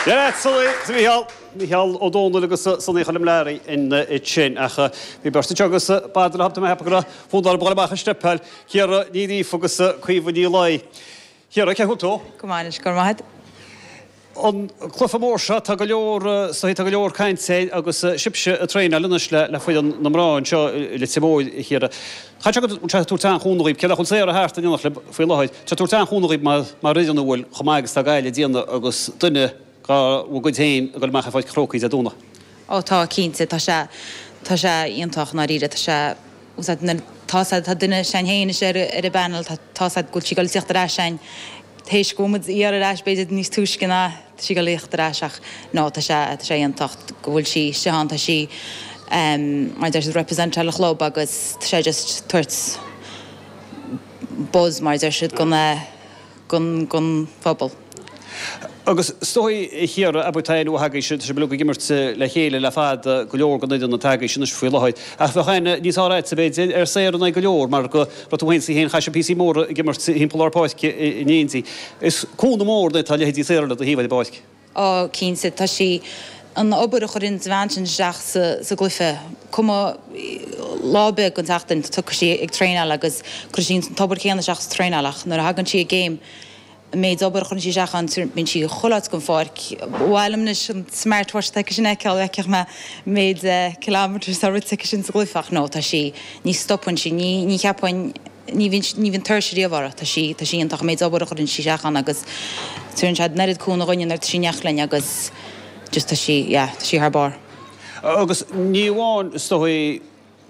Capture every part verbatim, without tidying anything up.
Yeah, Sonny, Micheál, Micheál Ó Dónaill agus Sonny Choilm Learaí ansin ach bhí beirt agus b'fhéidir le mé go fúdar bá amach stepáil Ciara Ní Ghríofa agus Caoimhe Ní Laoi. Ciara cén chaoi tú? Go maith go maith. An cluiche mór seo tá go leor tá go leor cainte agus sibhse ag traenáil anois le le foireann na mná anseo i Leitir Móir a Chiara. Cha sé go sé tú tan chúna cé chun saor a thart an le faoi láthair. Tá tú tan chúna mar mar fhoireann a bhfuil chomh maith agus tá Gaillimh ag déanamh agus duine dá gcuid féin ag dul amach ar Pháirc an Chrócaigh Dé Domhnaigh. Ó tá cinnte tá sé tá sé iontach dáiríre tá sé tá tá duine sin féin ar ar an bpanel tá tá go bhfuil sí ag teacht ar ais sin Théis go muid iar ar ais b'fhéidir níos túisce ná sí go léocht ar ais ach ná tá sé tá sé iontach go bhfuil sí sé tá sí mar deir siad represent an chlub agus tá sé just tabhairt buzz mar deir siad gon gon gon phobal. Agus stoi chiara abutain ó haga se se blug gimmert le chéile le fad go leor go na tagaí sin faoi láthair. Ach bheadh aithne níos fearr agat b'fhéidir ar Sarah na go leor mar go tú haon sí héin chaise pí mór gimmert himppalár páirce in éindí. Is cúnamh mór tá leithéidí Sarah le do thaobh i bpáirc. Ó cinnte tá sí an obair a chuireann an bhean sin isteach sa sa gcluiche cuma lá beag an tseachtain tá sí ag traenáil agus chuir sí an t-obair chéanna isteach sa traenáil ach nuair a thagann sí ag game méid obair chun sí seach an bíonn sí chuile áit den pháirc. Bhhailm leis an smartwatch te sin eáil fheicfeadh mé méid kilometers a rite sin sa gcluiche ach nó tá sí ní stopann sí ní ní cheapaim ní ní bhíonn tuirse riamh uirthi tá sí tá sí iontach méid obair a chuireann sí isteach ann agus tugann sé an oiread cúnamh dúinne nuair tá sí neach linn agus just tá sí yeah, tá sí thar barr. Agus ní amháin stoi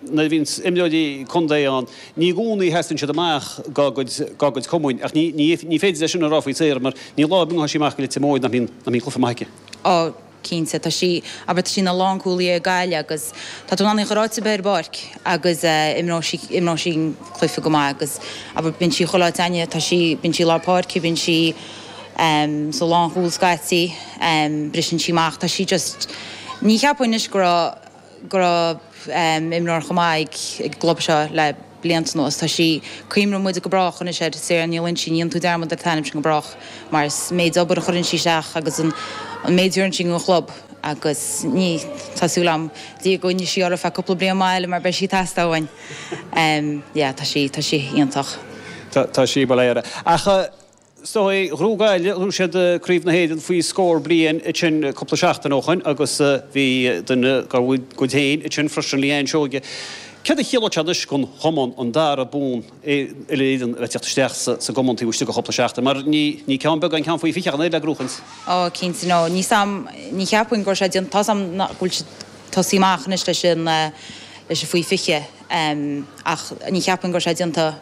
na bhíonn imreoirí contae ann, ní i gcónaí sheasann siad amach dá gcuid dá gcuid cumainn, ach ní ní ní féidir leis sin a rá faoi Sarah mar ní lá bíonn sí amach go Leitir Móir nach mbíonn nach mbíonn cluiche maith aici. Ó cinnte tá sí aber tá sí ina lánchúlaí ag Gaillimh agus tá tú in ann í a chur áit ar bith ar an bpáirc agus imreoidh sí imreoidh sí cluiche go maith agus aber bíonn sí chuile áit againne tá sí bíonn sí lár páirce bíonn sí um, sa lánchúl scaití um, briseann sí amach tá sí just ní cheapaim anois go raibh go raibh um, imreoir chomh maith ag ag gclub seo le blianta anuas tá sí cuimhneoidh muid go brách anois ar Sarah Ní Loinsigh ní dhéanfaidh tú dearmad ar an t-ainm sin go brách mar is méid obair a chuireann sí isteach agus an an méid a sí an chlub agus ní tá súil agam Dia go gcoinneoidh sí ar feadh cúpla bliain eile mar beidh sí ag teastáil uainn. Um, yeah, tá sí tá sí iontach. Tá sí baléire. Ach Stoi rúgáile rú siad craobh na hÉireann faoi scór bliain sin cúpla seachtain ó shin agus bhí duine dá gcuid féin sin freisin Leanne Seoige. Cad a chiallaíonn sé anois don chumann an dara bonn uile-Éireann a bheith isteach sa gcumann taobh istigh de chúpla seachtain, mar ní ní ceann beag an ceann faoi fiche an le gnóthachaint. Ó cinnte nó ní sam ní cheapaim go sé tá sam bhfuil siad tosaí amach anois leis an leis an faoi fiche ach ní cheapaim go sé déanta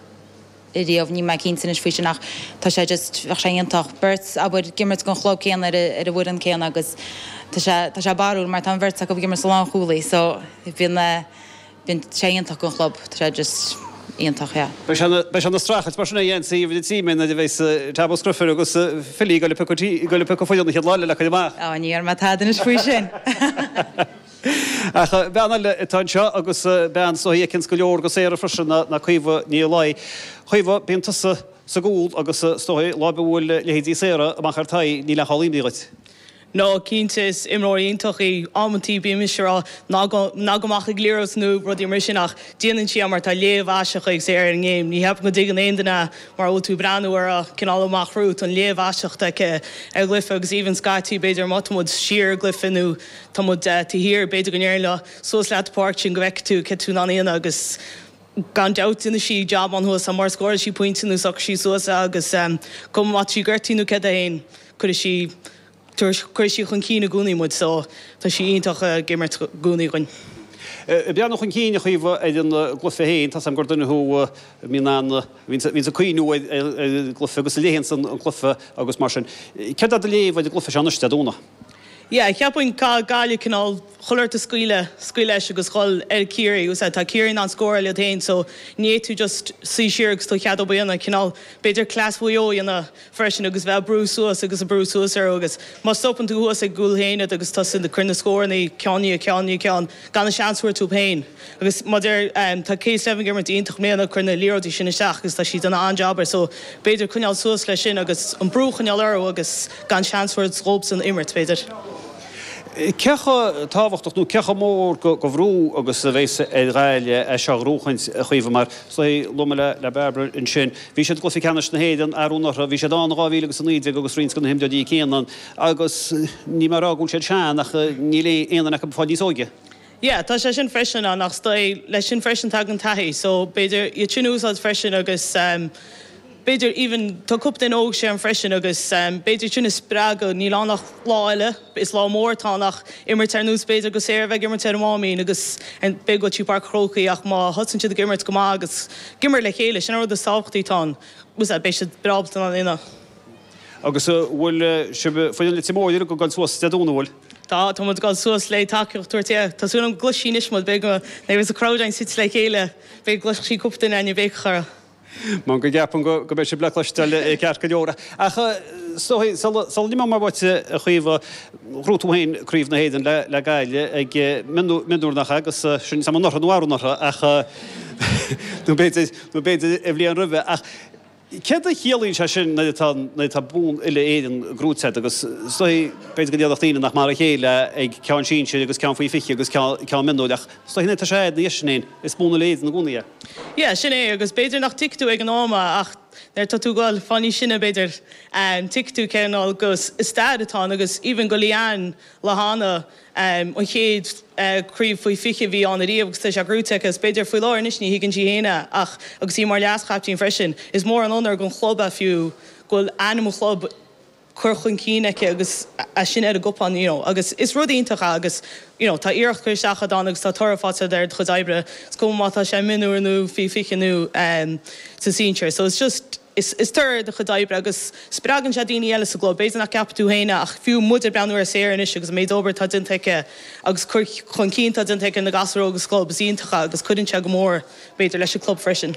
riamh ní mé cinnte anois faoi sin ach tá sé just bheadh sé iontach beirt abair ag imirt don chlub céanna ar ar an bhfoireann céanna agus tá sé tá sé barrúil mar tá an bheirt acu ag imirt sa lánchúlaí so bíonn bíonn sé iontach don chlub tá sé just iontach yeah. Beidh sé ina streachailt mar sin a dhéansaí bhí tí mé a bheas Tab Scruifir agus Philly go le go le piocadh foireann an chéad lá le chuid amach. Á ní ar me taidinis faoi sin. Ach bean eile atá anseo agus bean so fheiceann go leor de Sarah freisin ná Caoimhe Ní Laoi. Caoimhe bíonn tusa sa gcúl agus stoi lá bhfuil leithéidí Sarah amach ar tai ní le cholín duit. No cinnte is imreoir iontach í amantaí bím ag rá ná gabh amach ag liathróid nó rudaí mar sin ach déanann sí mar tá léamh aisteach ag Sarah ar an ngame. Ní cheapaim go dtuigeann aon duine mar bhfuil tú breathnú ar a cineál amach romhat an léamh aisteach aici ar gcluiche agus even scaití b'fhéidir má tá muid siar i gcluiche nó tá muid taobh thiar b'fhéidir go ndéarfainn leo suas leat páirc sin go bhfeicfidh tú cé tú in ann a dhéanamh agus gan dabht déanann sí job an-mhaith mar scóráil sí pointe nó socair sí suas agus cuma má tá sí gortaithe nó céard é féin cuirfidh sí chuir sí chun cinn i gcónaí muid so tá sí iontach ag imirt i gcónaí againn. Breathnú chun cinn a Chaoimhe ar an gcluiche féin, tá am gur duine thú bhíonn an bhíonn sa cuimhniú ar an gcluiche agus a léann an cluiche agus mar sin. Céard é do léamh ar an gcluiche seo anois Dé Domhnaigh? Yeah, cheapfainn caithfidh Gaillimh cineál chuile shórt a scaoileadh, scaoileadh leis agus dhul ar Ciarraí. Úsáid, tá Ciarraí in ann scóráil iad féin so ní fhéadfaidh tú just suí siar agus tú ag ceadú a dhéanamh, cineál b'fhéidir cleas Mhaigh Eo a dhéanamh freisin agus bheith ag brú suas agus ag brú suas orthu agus má stopann tú thuas ag gcúl féin iad agus tosaíonn ag cur na scóranna ceann i ndiaidh ceann i ndiaidh ceann gan an seans a thabhairt dóibh féin. Agus mar a deir, tá Kate Slevin ag imirt iontach i mbliana ag cur na liathróidí sin isteach agus tá sí ag déanamh an-jab air so b'fhéidir coinneáil suas leis sin agus an brú a choinneáil orthu agus gan seans a thabhairt dhóibhsan imirt b'fhéidir. Cé chomh tábhachtach nó cé chomh mór go bhrú agus a bheas ar Ghaillimh é seo a ghnóchaint, a Chaoimhe, mar luaigh mé le Barbara ansin, bhí siad i gcluiche ceannais na hÉireann arú anuraidh, bhí siad ann in dhá mhíle agus a naoi déag agus roinnt de na himreoirí céanna ann agus níl mé ag rá go bhfuil siad sean ach níl aon duine acu ag fáil níos óige. Yeah, tá sé sin freisin ann ach is dóigh leis sin freisin tagann taithí so b'fhéidir iad sin a úsáid freisin agus b'fhéidir even tá cúpla duine óg ann freisin agus b'fhéidir sin a spreagadh, níl ann ach lá eile, is lá mór atá ann ach imirt ar nós b'fhéidir go Sarah bheith ag imirt ar an Máimín agus b'fhéidir go dtí Páirc an Chrócaigh ach má thosaíonn siad ag imirt go maith agus ag imirt le chéile, sin an rud is tábhachtaí atá ann, beidh siad breá ábalta in ann. Agus an bhfuil sibh, foireann Leitir Móir, ag dul suas Dé Domhnaigh, an bhfuil? Tá, tá muid ag dul suas le tacaíocht a thabhairt, yeah. Tá súil agam go gcloisfidh anois muid, beidh go mbeidh an crowd againn suite le chéile, beidh go gcloisfidh sí cúpla duine againn ag béiceach orthu. Mar go gceapaim go mbeidh sibh le cloisteáil ceart go leor. Ach is dóigh, sula n-imeoidh mé uait, a Chaoimhe, ghnóthaigh tú féin Craobh na hÉireann le Gaillimh ag mionúr nach ea, agus sin anuraidh nó arú anuraidh ach nó b'fhéidir, nó b'fhéidir an bhliain roimhe. Ach Céard a chiallaíonn sé sin nuair atá nuair atá bonn uile-Éireann gnóite agat agus is dóigh b'fhéidir go ndéarfadh daoine nach mar a chéile ag ceann sinsir agus ceann faoi fiche agus ceann mionúir ach is dóigh nuair atá sé ina dhiaidh sin féin is bonn uile-Éireann i gcónaí é. Yeah, sin é agus b'fhéidir nach dtuigfidh tú ag an am é ach nuair atá tú ag dul fáil níos sine b'fhéidir tuigfidh tú cineál go stair atá ann agus even go Leanne Lehane An chéad chraobh faoi fiche a bhí ann ariamh agus tá sé gnóite aici. Is b'fhéidir faoi láthair anois ní thuigeann sí féin é ach agus í mar leas-chaiptín freisin, is mór an onóir don chlub é fiú go bhfuil ainm an chlub curtha chun cinn aici agus é sin ar an gcupán you know agus is rud iontach é agus you know tá iarracht curtha isteach agat ann agus tá toradh faighte agat ar do chuid oibre. Is cuma má tá sé mionúr nó faoi fiche nó sa sinsir. So it's just. Is toradh ar do chuid oibre agus spreagann sé daoine eile sa gclub. B'fhéidir nach gceapfaidh tú féin é ach fiú muid ag breathnú ar Sarah anois agus an méid obair atá déanta aici agus cur chun cinn atá déanta aici ar na gasúir óga sa gclub, is iontach é agus cuireann sé go mór, b'fhéidir, leis an gclub freisin.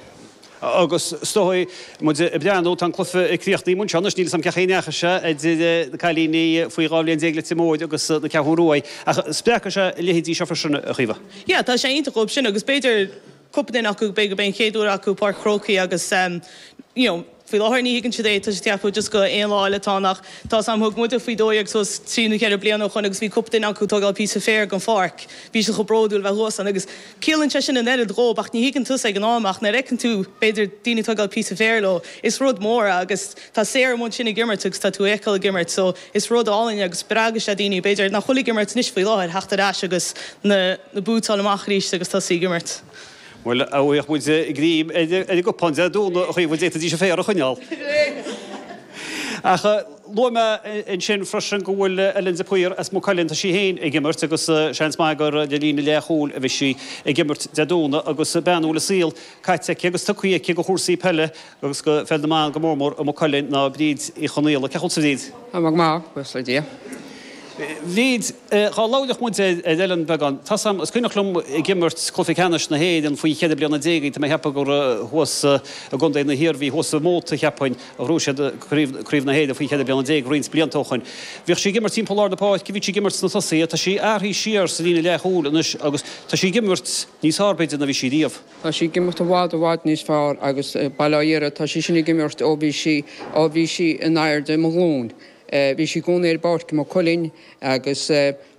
Agus is dóigh, muid ag breathnú, tá an cluiche ag críochnú anseo anois, níl 'fhios a'm cén chaoi a ndeachaigh sé idir na cailíní faoi dhá bhliain déag Leitir Móir agus na Ceathrún Ruaidh, ach spreagfaidh sé a leithéidí seo freisin, a Chaoimhe. Yeah, tá sé iontach dhóibh sin agus b'fhéidir, cúpla duine acu, b'fhéidir gurb é an chéad uair acu Páirc Chrócaigh agus you know faoi láthair ní thuigeann siad é, tá siad ag ceapadh just go aon lá eile atá ann ach tá 'fhios a'm thug muide faoi dó dhéag suas trí nó ceithre bliana ó shoin agus bhí cúpla duine acu ag tógáil píosa féir den pháirc, bhí siad chomh bródúil bheith thuas ann agus ciallaíonn sé sin an oiread dhóibh ach ní thuigeann tusa ag an am ach nuair a fheiceann tú b'fhéidir daoine ag tógáil píosa féir leo is rud mór é agus tá Sarah amuigh ansin ag imirt agus tá tú á fheiceáil ag imirt so is rud álainn é agus spreagfaidh sé daoine b'fhéidir nach bhfuil ag imirt anois faoi láthair theacht ar ais agus na na boots a fháil amach arís agus tosaí ag imirt. Bhuel, a bhfaigheadh muid greim ar an gcupán Dé Domhnaigh a Chaoimhe, d'fhéadfaidís an féar a choinneáil. Ach luaigh mé ansin freisin go bhfuil Ellen de Paor as Maigh Cuilinn, tá sí féin ag imirt agus seans maith gur le líne leathchúil a bheidh sí ag imirt Dé Domhnaigh agus bean a bhfuil a saol caite aici agus tugtha aici do chúrsaí peile agus do pheil na mban go mór mór i Maigh Cuilinn ná Bríd Uí Chonaola. Cén chaoi a bhfuil tú a Bhríd? Tá mé go maith, buíochas le Dia. Bhríd, dhá labhródh muid ar Ellen beagán, tá 's a'm, is cuimhneach liom ag imirt cluiche ceannais na hÉireann faoi cheithre bliana déag, tá mé ag ceapadh gur thuas i gContae na hIarmhí, thuas i Móta cheapfainn, a ghnóthaigh siad craobh, craobh na hÉireann faoi cheithre bliana déag roinnt blianta ó shoin. Bhíodh sí ag imirt timpeall lár na páirce, bhí sí ag imirt sna tosaithe, tá sí athraithe siar sa líne leathchúil anois agus tá sí ag imirt níos fearr b'fhéidir ná bhí sí riamh. Tá sí ag imirt i bhfad i bhfad níos fearr agus bail ó Dhia uirthi, tá sí sin ag imirt ó bhí sí, ó bhí sí in airde mo ghlúin. Bhí sí i gcónaí ar an bpáirc i Maigh Cuilinn agus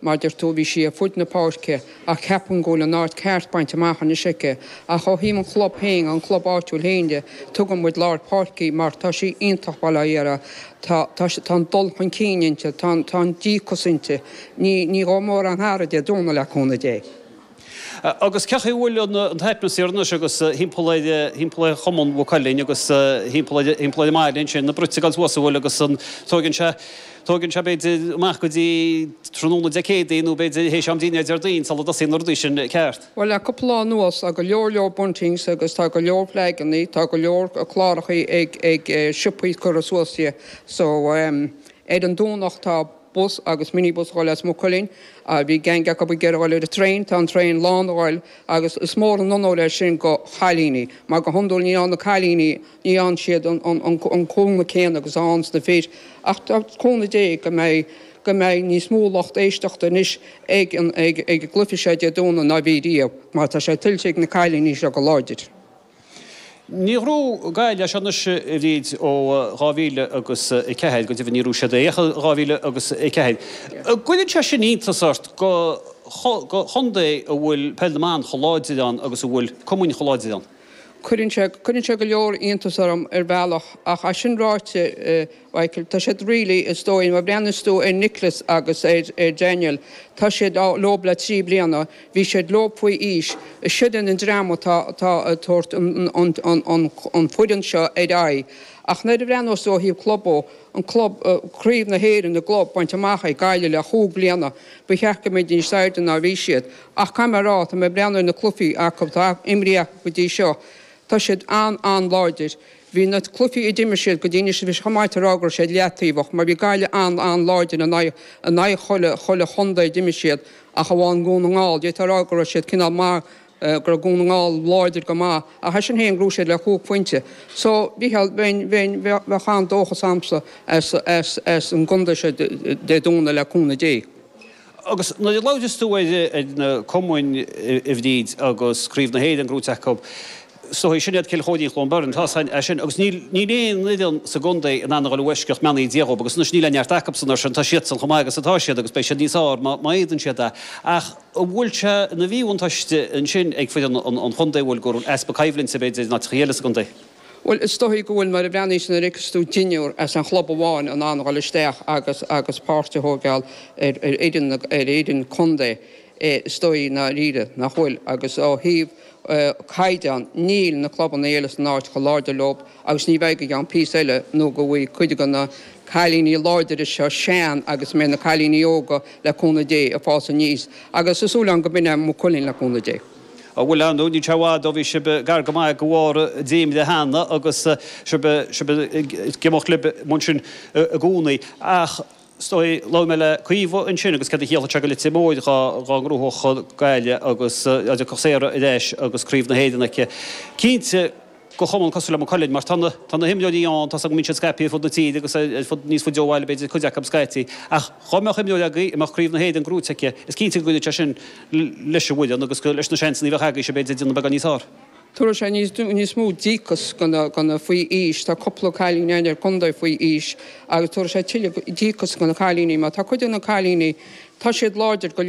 mar a deir tú bhí sí ar fud na páirce ach ceapaim go bhfuil an áit ceart bainte amach anois aici. Ach ó thaobh an chlub féin, an club áitiúil féin de, tugann muid lár páirce í mar tá sí iontach, bail ó Dhia uirthi. Tá, tá, tá an dul chun cinn inti, tá an, tá an díocas inti. Ní, ní gheobhaidh mórán aire Dé Domhnaigh le cúnamh Dé. Agus cén chaoi a bhfuil an t-atmaisféar anois agus thimpeall ar thimpeall ar chumann Mhaigh Cuilinn agus thimpeall ar thimpeall ar an mbaile ansin, na bruite ag dul suas an bhfuil agus an tóigeann sé tóigeann sé b'fhéidir amach go dtí tráthnóna Dé Céadaoin nó b'fhéidir théis am dinnéir Déardaoin sula dtosaíonn na rudaí sin ceart. Bhuel le cúpla lá anuas tá go leor leor buntings agus tá go leor flagannaí, tá go leor clárachaí ag ag siopaí curtha suas so ar an Domhnach tá bus agus minibus a dhul as Maigh Cuilinn. Bhí gang acu ag iarraidh a dhul ar an traein, tá an traein lán a dhul agus is mór an onóir é sin go chailíní mar go hiondúil ní fhaigheann na cailíní, ní fhaigheann siad an cúnamh céanna agus a fhaigheanns na fir. Ach tá cúnamh Dé go mbeidh go mbeidh níos mó lucht éisteachta anois ag an ag an gcluiche seo Dé Domhnaigh ná bhí riamh mar tá sé tuillte ag na cailíní seo go láidir. Níor ghnóthaigh Gaillimh é seo anois a Bhríd ó dhá mhíle agus a ceathair, go deimhin ní raibh siad é ach i dhá mhíle agus a ceathair. An gcuireann sé sin iontas ort go chontae a bhfuil peil na mban chomh láidir ann agus a bhfuil cumainn chomh láidir ann? Cuireann sé, cuireann sé go leor iontas orm ar bhealach ach é sin ráite, Mhichael, tá siad really, is dóigh, má bhreathnaíos tú ar Nicholas agus ar, ar Daniel, tá siad leob le trí bliana, bhí siad leob faoi aois, siad an dream atá, atá ag tabhairt an, an, an, an, an foireann seo ar aghaidh. Ach nuair a bhreathnós tú ó thaobh club ó, an club, Craobh na hÉireann i gclub bainte amach ag Gaillimh le chúig bliana, ba cheart go mbeidís níos airde ná bhí siad. Ach caithfidh mé a rá, tá mé ag breathnú ar na cluichí acu, atá imrithe acu go dtí seo, tá siad an-an-láidir. Bhí na cluichí a d'imir siad go dtí anois, bhí sé chomh maith a rá go raibh siad leataobhach mar bhí Gaillimh an-an-láidir in aghaidh in aghaidh chuile chuile chontae a d'imir siad ach amháin Dhún na nGall. D'fhéadfá a rá go raibh siad cineál maith, go raibh Dún na nGall láidir go maith ach é sin féin ghnóthaigh siad le chúig phointe. So, Mhícheál, bheinn, bheinn, bheadh an-dóchas a'msa as, as, as an gcontae seo Dé Domhnaigh le cúnamh Dé. Agus nuair a labhras tú ar na cumainn a Bhríd agus Craobh na hÉireann gnóite acu, is dóigh, sin iad Cill Chóirín Chluain Bheirn, tá é sin, agus níl níl aon fhoireann sa gcontae in ann a dhul i bhfoisceacht mbeannaithe Dia dhób agus anois níl aon neart acubsan air sin, tá siadsan chomh maith agus atá siad agus beidh siad níos fearr má má fhéadann siad é. Ach an bhfuil sé ina mhíbhuntáiste ansin ag foireann an chontae, an bhfuil, go raibh easpa coimhlinte b'fhéidir in áiteacha eile sa gcontae? Bhuel, is dóigh go bhfuil, mar a bhreathnaíos nuair a fheiceas tú deichniúr as an chlub amháin in ann a dhul isteach agus agus páirt a thógáil ar ar fhoireann ar fhoireann contae, is dóigh i ndáiríre nach bhfuil. Agus ó thaobh caighdeán, níl na clubanna eile san áit chomh láidir leob agus ní bheidh go gceann píosa eile nó go bhfaighidh cuid de na cailíní láidire seo sean agus mbeidh na cailíní óga le cúnamh Dé ag fás aníos agus tá súil agam go b'in é Maigh Cuilinn le cúnamh Dé. Bhuel, ar ndóigh, níl sé i bhfad ó bhí sibh gar go maith go bharr dréimire cheana agus sibh ag imeacht libh ansin i gcónaí. Ach is dóigh, labhair mé le Caoimhe ansin agus céard a chiallódh sé go Leitir Móir dhá ngnóthódh Gaillimh agus dá dtiocfadh Sarah ar ais agus Craobh na hÉireann aici. Cinnte, go chumann cosúil le Maigh Cuilinn, mar tá na, tá na himreoirí ann, tá's agam go mbíonn siad scaipthe ar fud na tíre agus ar fud, níos faide ó bhaile b'fhéidir cuid acu scaití, ach dhá mbeadh imreoir agaibh a mbeadh Craobh na hÉireann gnóite aici, is cinnte go gcuirfeadh sé sin leis an bhfoireann agus go, leis na seansanna a bheadh agaibhse b'fhéidir déanamh beagán níos fearr. Tabharfaidh sé níos, níos mó díocas go na, go na faoi aois, tá cúpla cailín ann ar contae faoi aois agus tabharfaidh sé tuilleadh díocas go na cailíní mar tá cuid de na cailíní, tá siad láidir go.